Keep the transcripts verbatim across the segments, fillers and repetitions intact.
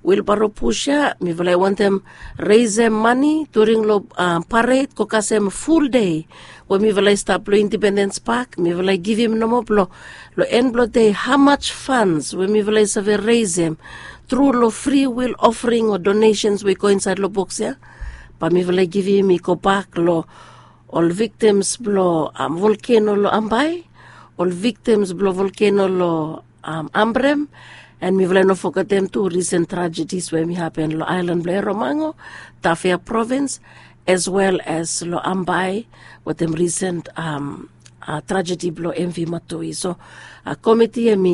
Wilbaro pus ya mifala i wantem resem mani during long pared go kasem ful dei we mifala i stap long Independens Pak. Mifala i givim nomo blong long en blong dei hamaj fans we mifala i save resem tru long fri wil ofring o donesens we i go insaed long boks ya, bae mifala i givim i gobak long ol viktims blong volkeno long Ambae, ol viktims blong volkeno long Ambrem, en mifala i no fogetem tu risen trajedis we hem i hapen long aelan blong Eromango, Tafea provins, as well as long Ambae wetem risen trajedi blong MV Matoi. So komiti hem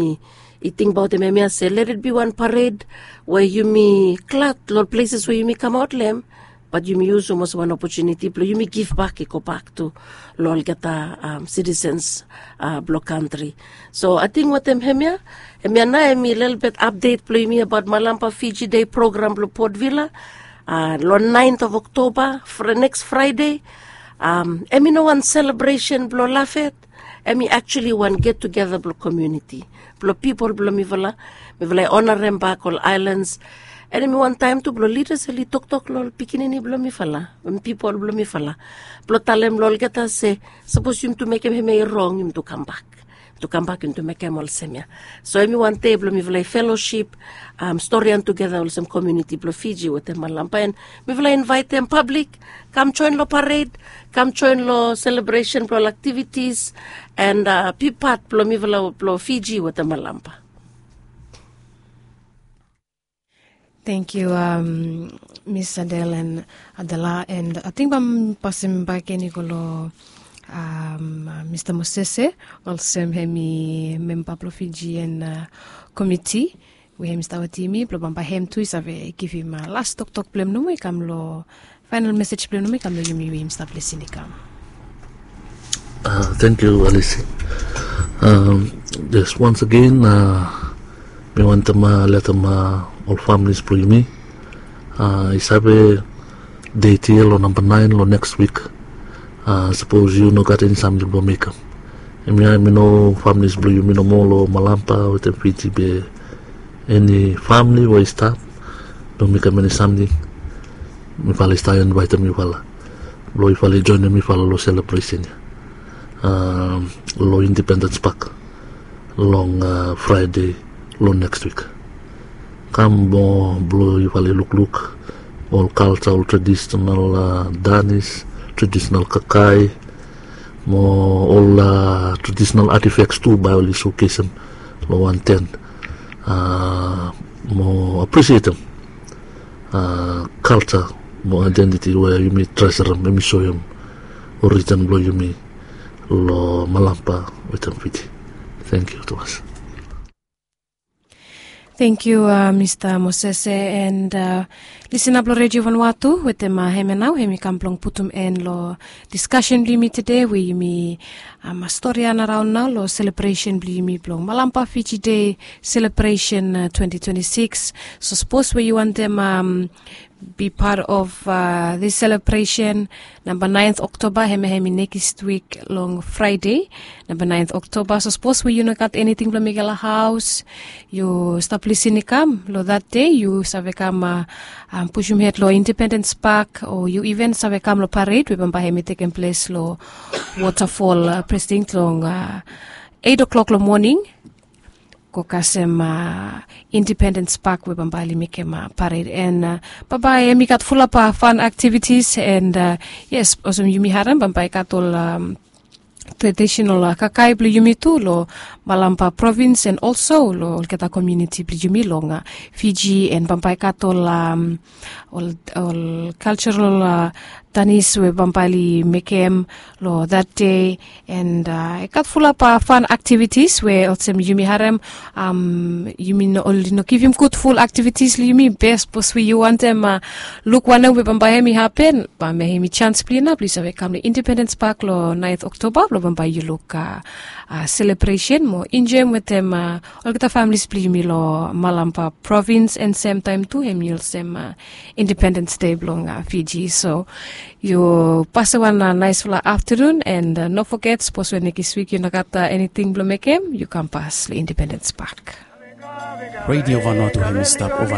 i tingbaotem hemia se let it bi wan pared we yumi glad long ol pleses we yumi kamaot long hem, bat yumi yusum olsem wan opotuniti blong yumi givbak i gobak tu long olgeta sitisens blong kantri. So ating wetem hemia, hemia nao hem i lelebet apdet blong yumi abaot Malampa Fiji Dei program blong Port Vila long naent of Oktoba, neks Fraede. Hem i no wan selebresen blong lafet, hem i aktuali wan get tugeta blong komuniti, blong pipol blong mifala. Mifala i onarem bak ol aelans, en hem i wan taem tu blong lidas oli toktok long ol pikinini blong mifala, pipol blong mifala, blong talem long olgeta se sapos yumi tu mekem hemia i rong, yumi tu kambak, yumi tu kambak, yumi tu mekem olsem ya. So hem i wan dei blong mifala i felosip, storian tugeta olsem komuniti blong Fiji wetem Malampa, en mifala i invaetem pablik kam joen long pared, kam joen long selebresen blong ol aktivitis, en bipat blong mifala blong Fiji wetem Malampa. Thank you, Miss Adele and Adela, and ating bae mi pasem bak gen i go long Mista Mosese, olsem hem i memba blong Fiji en komiti we hem i stap wetem yumi blong bambae hem tu i save givim las toktok blong hem nomo i kam long faenal mesej blong hem nomo i kam long yumi we yumi stap lisin i kam. Thank you, Alice. Yes, once again mi wantem letem ol familis blong yumi i save det ya long namba naen long neks wik. Sapos yu no gat eni samting blong mekem, hemia hem i no familis blong yumi nomo long Malampa wetem Fiji be eni famili we i stap blong mekem eni samting, mifala i stap invaetem yufala blong yufala i joenem mifala long selebresen ya long Independens Pak long Fraede long neks wik. Kam mo blong yufala i lukluk ol kalja, ol tradisenal danis, tradisenal kakae, mo ol tradisenal atifeks tu bae oli sokesem long wan ten mo aprisietem kalja mo aedentiti we yumi treserem, yumi soem orijin blong yumi long Malampa wetem Fiji. Thank you tumas. Thank you, Mista Mosese, and lisin ap long Redio Vanuatu wetem hemia nao hem i kam blong putum en long diskasen blong yumi tede we yumi storian araon nao long selebresen blong yumi blong Malampa Fiji Dei selebresen twenty twenty-six. So sapos we yu wantem bipat of this selebresen, namba naen Oktoba, hemia hem i nekis wik long Fraede, namba naen Oktoba. So sapos we yu no gat eniting blong mekem long haos, yu stap lisin i kam long that dei, yu save kam pusum hed long Independens Pak, o yu iven save kam long pared we bambae hem i tekem ples long Wotafol President long eit oklok long moning, go kasem Independens Pak we bambae oli mekem pared. En bambae hem i gat fulap fan aktivitis, en yes, olsem yumi harem bambae i gat ol tradisenal kakae blong yumi tu long Malampa provins, en olso long olgeta komuniti blong yumi long Fiji, en bambae i gat ol ol kaljaral danis we bambae oli mekem long that dei. En i gat fulap fan aktivitis we olsem yumi harem, yumi no oli no givim gud ful aktivitis long yumi. Be sapos we yu wantem luk wanem we bambae hem i hapen, bambae hem i jans blong yu nao blong yu save kam long Independens Pak long naen Oktoba blong bambae yu luk selebresen mo enjoem wetem olgeta familis blong yumi long Malampa provins, en semtaem tu hem i olsem Independens Dei blong Fiji. So yu pasem wan naesfala aftanun, en no foget, sapos we nekis wik yu no gat eniting blong mekem, yu kam pas long Independens Pak. Redio Vanuatu hem i stap ova